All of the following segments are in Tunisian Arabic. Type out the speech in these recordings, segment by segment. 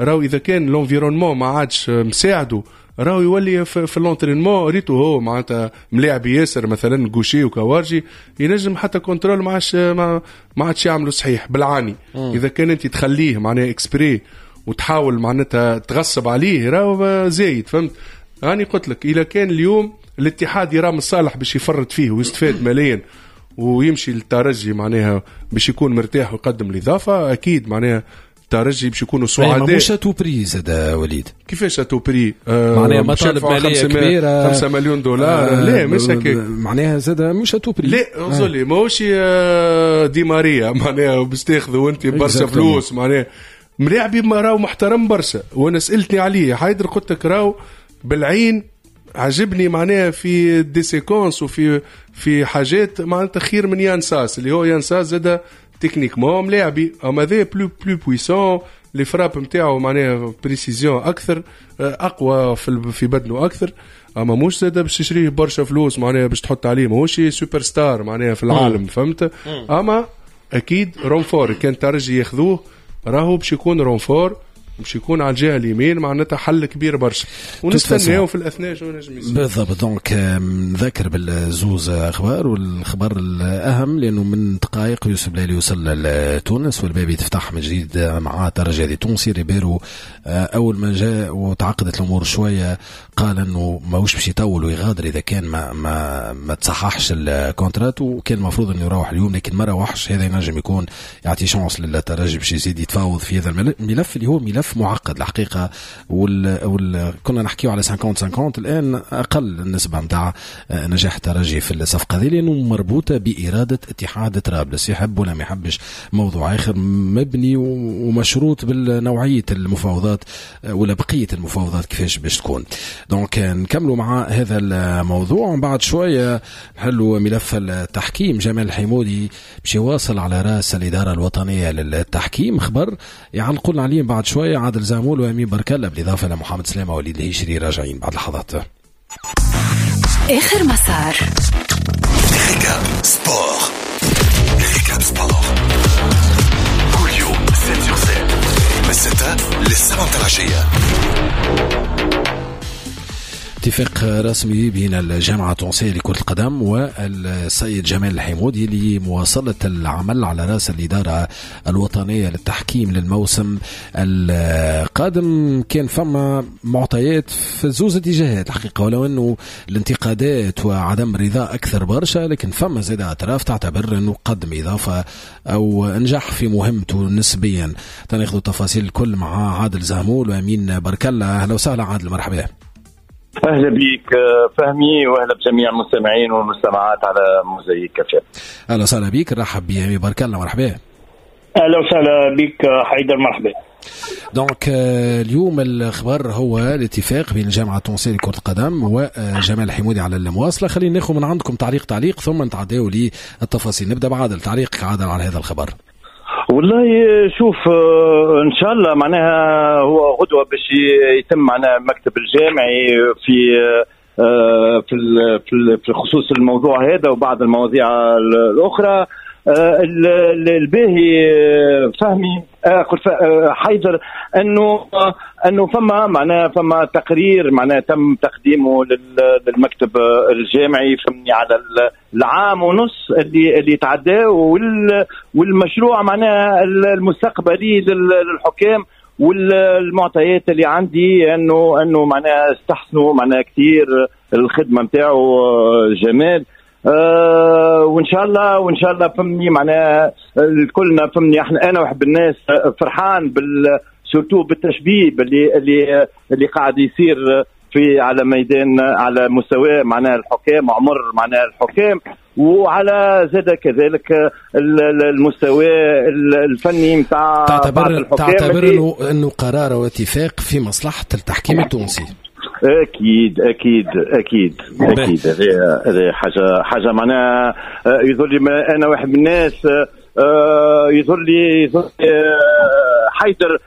راهو اذا كان l'environnement ما عادش مساعدة راهو يولي في l'entraînement، ريتو هو معناتها ملاعب ياسر مثلا gaucher وكوارجي، ينجم حتى contrôle ما عادش يعملوا صحيح بالعاني. اذا كان انت تخليه معناها exprès وتحاول معناتها تغصب عليه راهو زايد، فهمت؟ راني قلت لك اذا كان اليوم الاتحاد يرى من الصالح باش يفرط فيه ويستفاد ماليا ويمشي للترجي، معناها باش يكون مرتاح ويقدم الاضافه، اكيد معناها الترجي باش يكونوا سعداء. مش à tout prix زاد وليد. كيفاش à tout prix؟ معناها مطالب ماليه كبيره. 5 مليون دولار، لا مش هكاك. معناها زاد مش à tout prix. لا انظر، ماهوش دي ماريا معناها باش تاخذوا انت برشا فلوس. معناها ملاعبي راهو محترم برشا، وانا سالتني عليه حيدر، قلت لك راهو بالعين عجبني، معناها في des séquences وفي حاجات معناتها خير من يان ساس، اللي هو يان ساس زاد techniquement ملاعبي، اما هذا plus puissant، les frappes نتاعو معناها précision اكثر، اقوى في بدنه اكثر. اما مش زاد باش تشريه برشا فلوس معناها باش تحط عليه، ماهوش سوبر ستار معناها في العالم، فهمت؟ اما اكيد renfort، كان ترجي ياخذوه راهو باش يكون renfort، باش يكون على الجهة اليمين معناتها حل كبير برشا، ونستناو في الاثناء شو نجم يصير. بالضبط. donc نذكر بالزوز اخبار، والخبر الاهم لانه من دقائق يوسف بلايلي وصل لتونس والباب يتفتح من جديد مع الترجي التونسي. ريبيرو اول ما جاء وتعقدت الامور شوية قال انه ماهوش باش يطول ويغادر اذا كان ما تصححش ال contrat، وكان المفروض انه يروح اليوم لكن ما روحش. هذا ينجم يكون يعطي chance للترجي باش يزيد يتفاوض في هذا الملف اللي هو ملف معقد الحقيقه. كنا نحكيو على 50 50، الان اقل النسبة نتاع نجاح الترجي في الصفقة هذه لانه مربوطة باراده اتحاد طرابلس، يحب ولا ما يحبش موضوع اخر، مبني ومشروط بالنوعيه المفاوضات ولا بقية المفاوضات كيفاش باش تكون. donc نكملوا مع هذا الموضوع ومن بعد شوية نحلوا ملف التحكيم. جمال الحيمودي باش يواصل على راس الادارة الوطنية للتحكيم، خبر يعلقوا لنا عليه بعد شوية عادل زعمول وامين بركله، بالاضافة لمحمد سلامه وليد الهيشري، راجعين بعد لحظات. اخر مسار. Récap sport، récap sport كل يوم 7 sur 7 من 6 ل 7 العشيه. اتفاق رسمي بين الجامعة التونسية لكرة القدم والسيد جمال الحيمودي لمواصلة العمل على رأس الإدارة الوطنية للتحكيم للموسم القادم. كان فما معطيات في زوز اتجاهات الحقيقة، ولو أنه الانتقادات وعدم الرضا أكثر برشا، لكن فما زاد أطراف تعتبر أنه قدم إضافة أو نجح في مهمته نسبيا. تناخذ التفاصيل الكل مع عادل زهمول وأمين بركلة. أهلا وسهلا عادل، مرحبا. اهلا بك فهمي، واهلا بجميع المستمعين والمستمعات على موزايك اف. اهلا وسهلا بك، نرحب بأمين بارك الله، مرحبا. اهلا وسهلا بك حيدر، مرحبا. donc اليوم الخبر هو الاتفاق بين الجامعة التونسية لكرة القدم وجمال الحمودي على المواصله. خلينا ناخذ من عندكم تعليق تعليق ثم نتعداو للتفاصيل. نبدا بعادل، تعليقك عادل على هذا الخبر. والله شوف، ان شاء الله معناها هو غدوه باش يتم معناها المكتب الجامعي في خصوص الموضوع هذا وبعض المواضيع الاخرى. الباهي فهمي، قلت حيدر، انه فما معناها فما تقرير معناها تم تقديمه للمكتب الجامعي، فهمني، على العام ونص اللي تعدى والمشروع معناها المستقبلي للحكام. والمعطيات اللي عندي انه معناها استحسنوا معناها كثير الخدمة نتاعو جمال، وان شاء الله فهمني معناها الكلنا فهمني احنا، انا واحد الناس فرحان surtout بالتشبيب اللي قاعد يصير في على ميدان على مستوى معناها الحكام، عمر معناها الحكام، وعلى زاد كذلك المستوى الفني نتاع تعتبر انه قرار واتفاق في مصلحة التحكيم التونسي؟ اكيد، هذه حاجه معناها يظهر لي انا واحد من الناس يظهر لي حيدر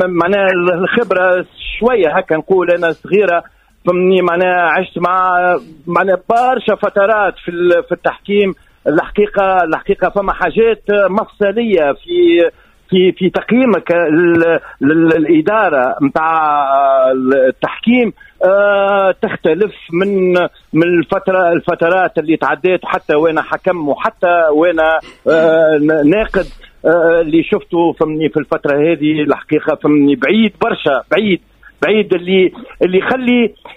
معناها الخبرة شوية هكا نقول انا صغيره، فهمني، معناها عشت مع معناها برشا فترات في التحكيم. الحقيقه فما حاجات مفصلية في في في تقييمك للادارة نتاع التحكيم تختلف من الفترات اللي تعديت، حتى وانا حكم وحتى وانا ناقد. اللي شفته فهمني في الفترة هذه الحقيقة فهمني بعيد برشا، بعيد بعيد، اللي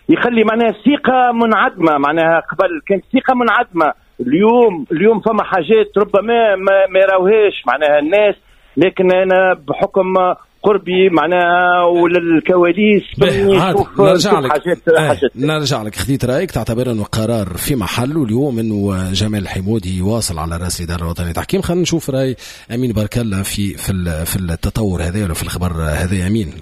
يخلي معناها الثقة منعدمة. معناها قبل كانت الثقة منعدمة، اليوم فما حاجات ربما ما يراوهاش معناها الناس، لكن انا بحكم قربي معناها وللكواليس نرجع لك حاجات. نرجع لك، خذيت رايك، تعتبر انه قرار في محله اليوم انه جمال الحمودي يواصل على راس الادارة الوطنية للتحكيم. خلينا نشوف راي امين بارك الله في التطور هذا ولا في الخبر هذا. امين،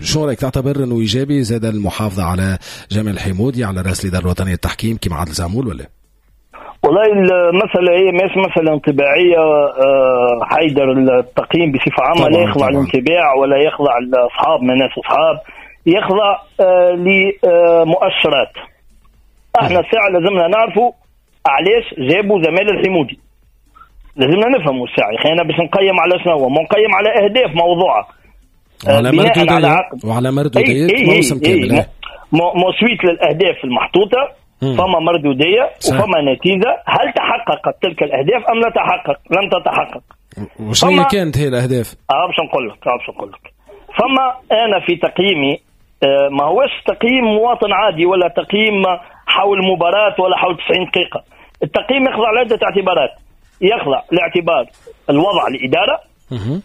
شو رايك؟ تعتبر انه ايجابي زاد المحافظة على جمال الحمودي على راس الادارة الوطنية للتحكيم كما عادل زعمول ولا؟ والله المسألة هي مش مسألة انطباعية حيدر. التقييم بصفة عامة لا يخضع للانطباع ولا يخضع لأصحاب من ناس أصحاب، يخضع لمؤشرات. احنا الساعة لازمنا نعرفوا علاش جابوا جمال الحمودي، لازمنا نفهموا الساعة خلينا باش نقيم على شنو، ما نقيم على أهداف موضوعة وعلى مردودية، وعلى مردودية موسم كامل، مو suite للأهداف المحطوطة فما مردودية وفما نتيجة. هل تحققت تلك الأهداف أم لا تحقق؟ لم تتحقق. وشنو كانت هي الأهداف؟ باش نقول لك فما أنا في تقييمي ما هوش تقييم مواطن عادي ولا تقييم حول مباراة ولا حول 90 دقيقة. التقييم يخضع لعدة اعتبارات، يخضع لاعتبار الوضع الإدارة،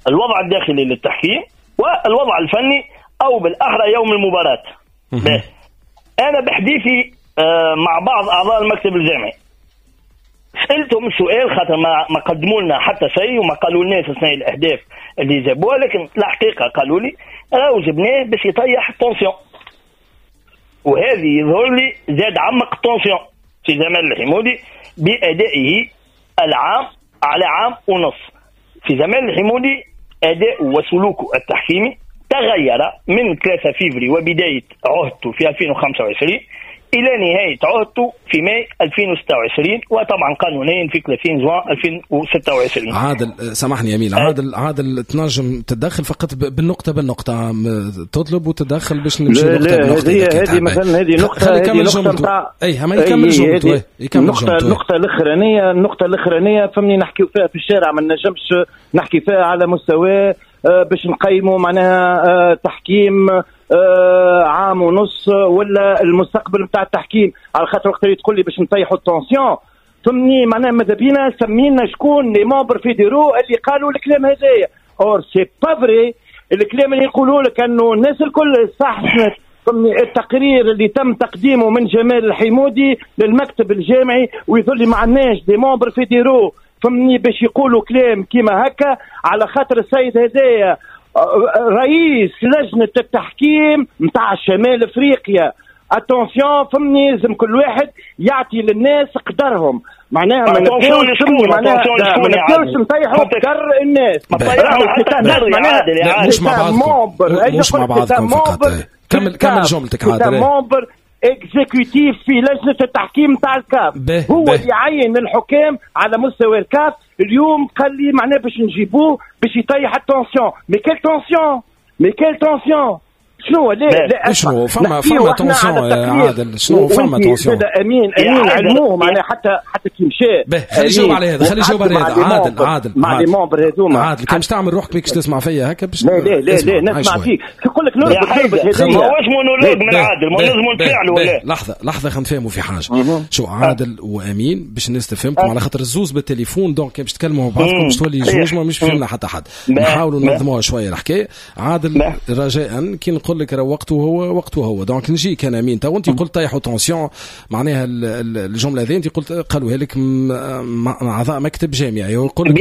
الوضع الداخلي للتحكيم، والوضع الفني أو بالأحرى يوم المباراة. أنا بحديثي مع بعض أعضاء المكتب الجامعي سألتهم سؤال، خاطر ما قدموا لنا حتى شيء وما قالوا لناش شنو الأهداف اللي جابوها، لكن الحقيقة قالوا لي راهو جبناه باش يطيح ال tension، وهذه يظهر لي زاد عمق ال tension في جمال الحمودي بأدائه العام على عام ونص. في جمال الحمودي أداؤه وسلوكه التحكيمي تغير من 3 فيفري وبداية عهدته في 2025 إلى نهاية عهدته في ماي 2026، وطبعا قانونيا في 30 جوان 2026. عادل سامحني أمين، عادل تنجم تتدخل فقط بالنقطة بالنقطة، تطلب وتدخل باش نمشي نقطة بنقطة. هذه مثلا هذه نقطة، هذه نقطة نتاع أي ما يكمل جملته، يكمل جملته. النقطة الأخرانية فهمني نحكيو فيها في الشارع، ما نجمش نحكي فيها على مستوى باش نقيموا معناها تحكيم عام ونص ولا المستقبل نتاع التحكيم، على خاطر وقت اللي تقول لي باش نطيحوا ال tension فهمني معناها ماذا بينا سمينا شكون les membres fédéraux اللي قالوا الكلام هذايا. or c'est pas vrai الكلام اللي يقولوا لك انه الناس الكل صح. فهمني التقرير اللي تم تقديمه من جمال الحمودي للمكتب الجامعي ويظل لي ما عندناش des membres fédéraux فهمني باش يقولوا كلام كيما هكا، على خاطر السيد هذايا رئيس لجنة التحكيم نتاع شمال افريقيا. attention فهمني لازم كل واحد يعطي للناس قدرهم، معناها ما نبداوش نطيحوا قدر الناس. مش مع بعضكم، مش مع بعضكم فقط. كمل جملتك عادل. membre exécutif في لجنة التحكيم تاع الكاف، هو اللي يعين الحكام على مستوى الكاف. اليوم قال لي معناه باش نجيبوه باش يطيح ال tension، mais quelle tension، mais quelle tension؟ شنو لا شنو فما tension يا عادل؟ شنو فما tension؟ امين علموه معناها حتى كي مشى. خلي يجاوب على هذا، خلي يجاوب على هذا عادل. عادل مع les membres هذوما عادل كان باش تعمل روحك بيك تسمع فيا هكا باش لا لا لا لا نسمع فيك. نقول لك نربط هذا ماهوش مونولوج من عادل، ما لازم نتفاعلوا ولا لحظة لحظة خلينا نفهموا في حاجة. شو عادل وامين باش الناس تفهمكم على خاطر الزوز بالتليفون، donc باش تكلموا بعضكم باش تولي جوج ما مش فهمنا حتى حد. نحاولوا ننظموها شوية الحكاية. عادل رجاء كي نقول لك راه وقته هو وقته هو، donc نجيك انا امين. تو انت قلت طيحوا tension، معناها الجملة هذه انت قلت قالوها لك اعضاء مكتب جامعي، ويقول لك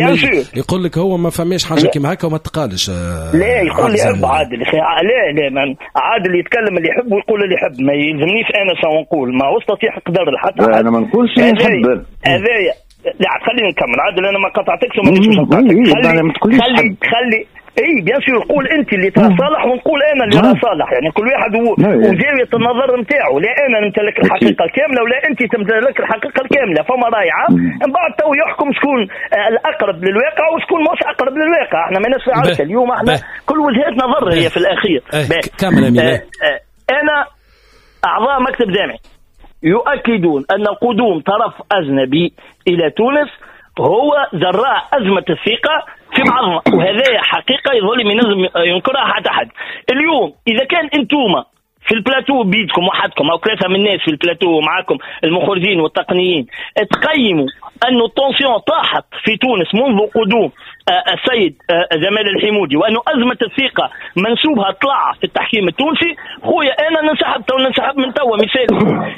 يقول لك هو ما فماش حاجة كيما هكا وما تقالش. لا يقول لي عادل لا لا عادل يتكلم اللي يحب ويقول اللي يحب، ما يلزمنيش انا شنو نقول، ما هوش تطيح قدر لحتى انا ما نقولش نحب هذايا. لا خليني نكمل عادل، انا ما قطعتكش وما نجمش نقاطعك. خلي خلي اي bien sûr، قول انت اللي ترى صالح ونقول انا اللي راه صالح، يعني كل واحد وزاويه النظر نتاعو. لا انا نمتلك الحقيقة الكاملة ولا انت تمتلك الحقيقة الكاملة، فما راي عام من بعد تو يحكم شكون الاقرب للواقع وشكون مش اقرب للواقع. احنا ماناش في عركة اليوم، احنا كل وجهات نظر هي في الاخير. كمل امين. انا اعضاء مكتب جامعي يؤكدون ان قدوم طرف اجنبي الى تونس هو جراء ازمة الثقة في بعضنا، وهذا حقيقة يظل ما ينجم ينكرها حتى حد. اليوم اذا كان انتوما في البلاتو بيدكم وحدكم او ثلاثة من الناس في البلاتو معاكم المخرجين والتقنيين تقيموا انه ال tension طاحت في تونس منذ قدوم السيد جمال الحمودي، وانه ازمة الثقة منسوبها طلع في التحكيم التونسي، خويا انا ننسحب تو، ننسحب من توا. مثال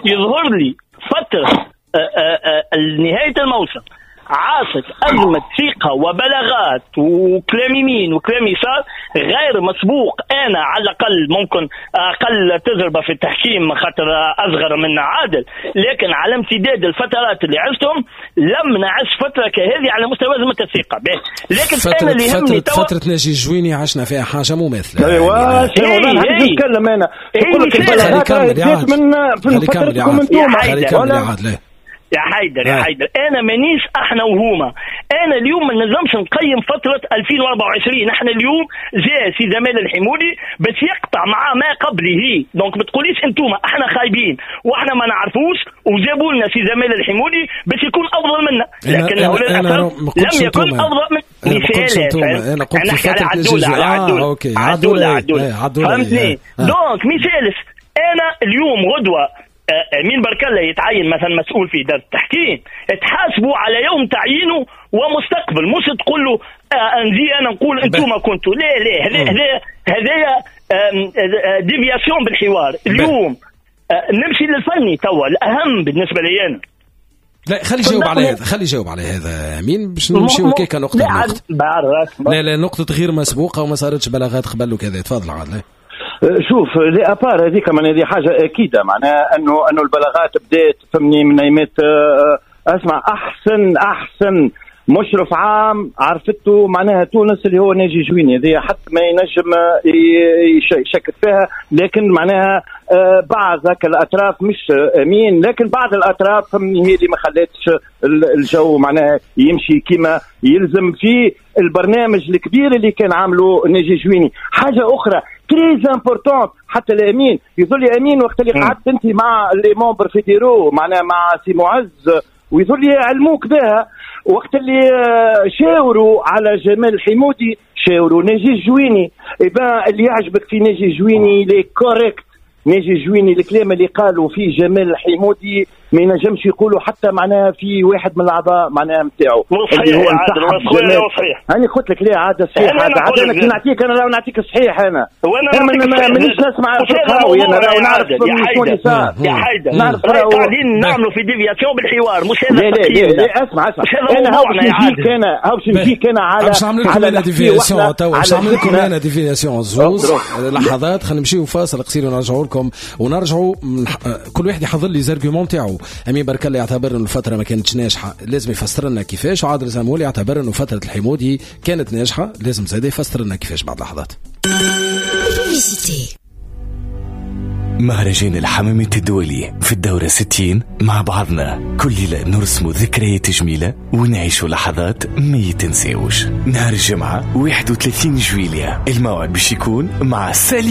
يظهر لي فترة نهاية الموسم عاصت أزمة ثقة وبلاغات وكلام يمين وكلام يسار غير مسبوق. أنا على الأقل ممكن أقل تجربة في التحكيم خاطر أصغر من عادل، لكن على امتداد الفترات اللي عشتهم لم نعش فترة كهذه على مستوى أزمة الثقة. لكن أنا اللي يهمني فترة ناجي الجويني عشنا فيها حاجة مماثلة. أيوة نتكلم أنا نقول لك البلاغات من فترتكم أنتم. يا حيدر يا حيدر، انا مانيش احنا وهما. انا اليوم ما نجمش نقيم فترة 2024. احنا اليوم جاء سي جمال الحمودي باش يقطع مع ما قبله، donc ما تقوليش انتوما احنا خايبين واحنا ما نعرفوش وجابوا لنا سي جمال الحمودي باش يكون افضل منا، لكن لم يكن افضل من. مثال انا قلت في فترة عدوله OK عدوله فهمتني. donc مثال انا اليوم غدوه أمين بارك الله يتعين مثلا مسؤول في إدارة التحكيم، تحاسبوا على يوم تعيينه ومستقبل، مش تقول له نجي أنا نقول أنتم كنتوا. لا لا، هذا déviation بالحوار. اليوم نمشي للفني توا الأهم بالنسبة لي أنا. لا خلي يجاوب على هذا، خلي يجاوب على هذا امين باش نمشيو كيكا نقطة نقطة. لا لا، نقطة غير مسبوقة وما صارتش بلاغات قبل وكذا. تفضل عادل. شوف à part هذيك معناها هذه حاجة اكيدة، معناها انه البلاغات بدات فهمني من ايامات. اسمع، احسن مشرف عام عرفته معناها تونس اللي هو ناجي جويني، هذه حتى ما ينجم يشكك فيها، لكن معناها بعض هكا الاطراف مش امين، لكن بعض الاطراف فهمني هي اللي ما خلاتش الجو معناها يمشي كما يلزم في البرنامج الكبير اللي كان عامله ناجي جويني. حاجة اخرى très importante حتى الامين يظل امين وقت اللي قعدت انت مع les membres fédéraux معناها مع سي معز ويظل يعلموك بها، وقت اللي شاوروا على جمال الحمودي شاوروا ناجي الجويني. إبا اللي يعجبك في ناجي الجويني il est correct، ناجي الجويني الكلام اللي قالوا فيه جمال الحمودي ما ينجمش يقولوا حتى معناها في واحد من الاعضاء معناها نتاعو اللي هو صحيح. انا قلت لك ليه عاد صحيح، عاد انا كي نعطيك انا لو نعطيك صحيح انا مانيش نسمع القهوي، انا راهو نعرف شنو اللي صار يا حيدر. نعرف قاعدين نعملوا في déviation بالحوار مش هذا. لا لا لا اسمع انا هاو باش نجيك، انا هاو باش نجيك انا على باش نعمل لكم انا déviation توا، باش نعمل لكم انا déviation زوز لحظات. خلينا نمشيو فاصل قصير ونرجعوا لكم، ونرجعوا كل واحد يحضر les arguments تاعو. امين بارك الله يعتبر انه الفترة ما كانتش ناجحة، لازم يفسر لنا كيفاش، وعادل زمولي يعتبر انه فترة الحمودي كانت ناجحة، لازم زاد يفسر لنا كيفاش بعد لحظات. مهرجان الحمامات الدولي في الدورة 60 مع بعضنا كل ليلة نرسم ذكريات جميلة ونعيش لحظات ما يتنساوش. نهار الجمعة 31 جويلية الموعد باش يكون مع سالي